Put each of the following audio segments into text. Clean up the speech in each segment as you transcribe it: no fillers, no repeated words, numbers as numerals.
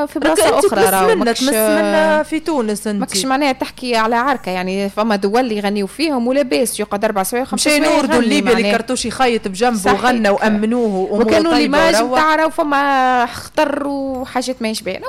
في بلاصة اخرى، راهو تمس منا في تونس. انت ماكش معناها تحكي على عركه، يعني فما دول يغنيو فيهم ولا باس، يقعد 4 سوايع 5 سوايع. نوردو الليبي اللي كرتوش يخيط بجنبه وغنى وامنوه. وكانوا l'image نتاع راهو فما خطر وحاجات ماهيش باينه.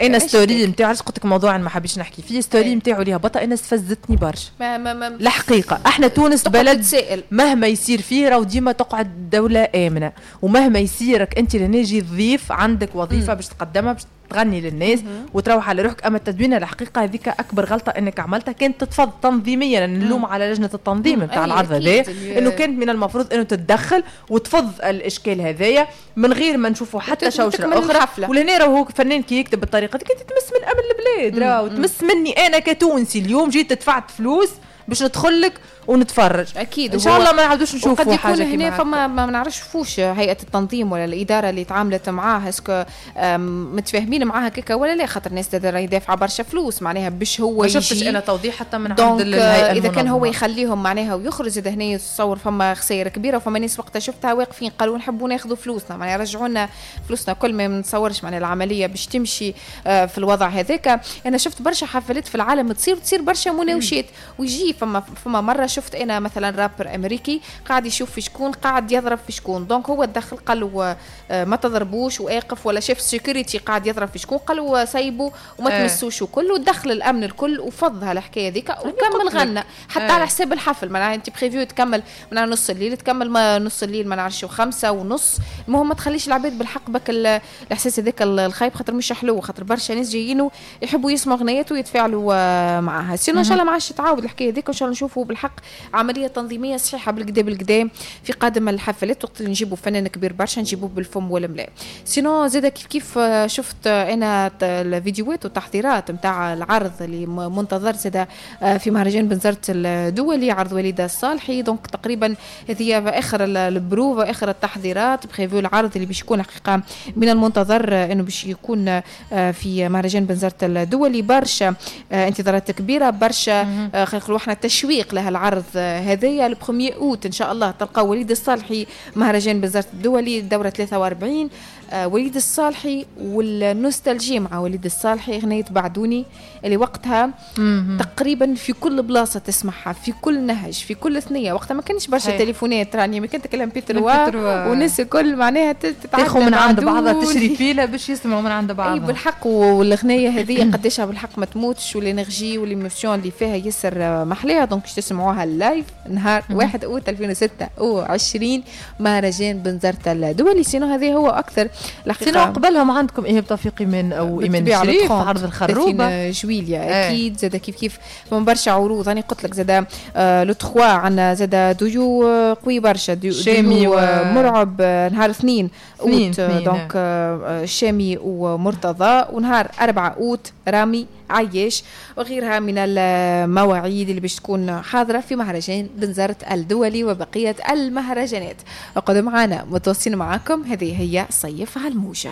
انا story نتاعو، علاش قلت لك موضوع انا ما حبيتش نحكي فيه، story نتاعو اللي هبطها انا استفزتني برشا. ما ما ما الحقيقة احنا تونس بلد تسائل. مهما يصير فيه راهو ديما تقعد دولة امنه، ومهما يصيرك انت لهنا جي ضيف، عندك وظيفة باش تقدمها، باش تغني للناس وتروح على روحك. اما التدوينه الحقيقة هذيك اكبر غلطه انك عملتها، كانت تتفض تنظيميا. نلوم على لجنة التنظيم نتاع العرض هذا، انه كانت من المفروض انه تتدخل وتفض الاشكال هذايا من غير ما نشوفوا حتى شوشرة اخرى. ولهنا راهو فنان كي يكتب بالطريقة دي تمس من امن البلاد، راهو تمس مني انا كتونسي، اليوم جيت دفعت فلوس باش ندخل لك ونتفرج. اكيد. ان شاء الله ما نعاودوش نشوفوا حاجة كيما هنا. فما ما نعرفش فوش هيئة التنظيم ولا الادارة اللي تعاملت معاه، est-ce que متفاهمين معاها كيكا ولا لا، خاطر الناس راهي دافعه برشا فلوس معناها باش هو ما شفتش انا توضيح حتى من عند الهيئه. اذا كان هو يخليهم معناها ويخرج اذا هنا يتصور فما خسائر كبيره، وفما ناس وقتها شفتها واقفين قالوا نحبوا ناخذوا فلوسنا، معناها رجعوا لنا فلوسنا كل. ما نتصورش معناها العملية باش تمشي في الوضع هذاك. انا شفت برشا حفلات في العالم تصير برشا مناوشات ويجي فما مرة شفت انا مثلا رابر امريكي قاعد يشوف في شكون قاعد يضرب في شكون، donc هو دخل قال له ما تضربوش واقف، ولا شاف sécurité قاعد يضرب في شكون قال له سيبوا وما تمسوش وكل، ودخل الامن الكل وفضها الحكاية ذيك وكمل غنى حتى على حساب الحفل. معناها انت prévu تكمل من نص الليل، تكمل ما نص الليل ما نعرفش 5:30، المهم ما تخليش العباد بالحق بك الاحساس هذاك الخايب، خاطر مش حلو، خاطر برشا ناس جايين يحبوا يسمعوا اغنيات ويتفاعلوا معاها. sinon ان شاء الله ما عادش تعاود الحكاية هذيك، وان شاء الله نشوفوا بالحق عملية تنظيميه صحيحه بالقدا بالقدا في قادم الحفلات، وقت اللي نجيبوا فنان كبير برشا نجيبوه بالفم والملا. sinon زاد كيف كيف شفت انا الفيديوهات والتحضيرات نتاع العرض اللي منتظر زاد في مهرجان بنزرت الدولي، عرض وليد الصالحي. donc تقريبا هذه اخر البروفا، اخر التحضيرات prévu العرض اللي باش يكون حقيقة من المنتظر انه باش يكون في مهرجان بنزرت الدولي. برشا انتظارات كبيره، برشا خلينا نقولوا احنا تشويق لها العرض هذايا. ال premier août ان شاء الله تلقى وليد الصالحي، مهرجان بنزرت الدولي الدورة 43، وليد الصالحي وال nostalgie مع وليد الصالحي، اغنية بعدوني اللي وقتها تقريبا في كل بلاصة تسمعها، في كل نهج، في كل ثنيه. وقتها ما كانش برشا تليفونات راني، ما كانت كلام MP3 والناس الكل معناها تاخذ من عند بعضها، تشري فيلا باش يسمعوا من عند بعضها. اي بالحق، والاغنية هذه قديشها بالحق ما تموتش، وال énergie وال émotion اللي فيها ياسر محليها. donc تسمعوها live نهار 1 اوت 2026 مهرجان بنزرت الدولي. sinon هذا هو اكثر الحقيقه. sinon قبلهم عندكم ايهاب توفيقي من او ايمان شريف، عرض الخروبه. جويليا اكيد. زاد كيف كيف من برشا عروض، انا قلت لك زاد le 3 عندنا زاد ديو قوي برشا، ديو شامي ومرعب نهار 2 اوت، donc شامي ومرتضى، ونهار 4 اوت رامي عياش وغيرها من المواعيد اللي باش تكون حاضرة في مهرجان بنزرت الدولي وبقية المهرجانات. اقعدوا معنا، متواصلين معاكم، هذه هي صيف على الموجة.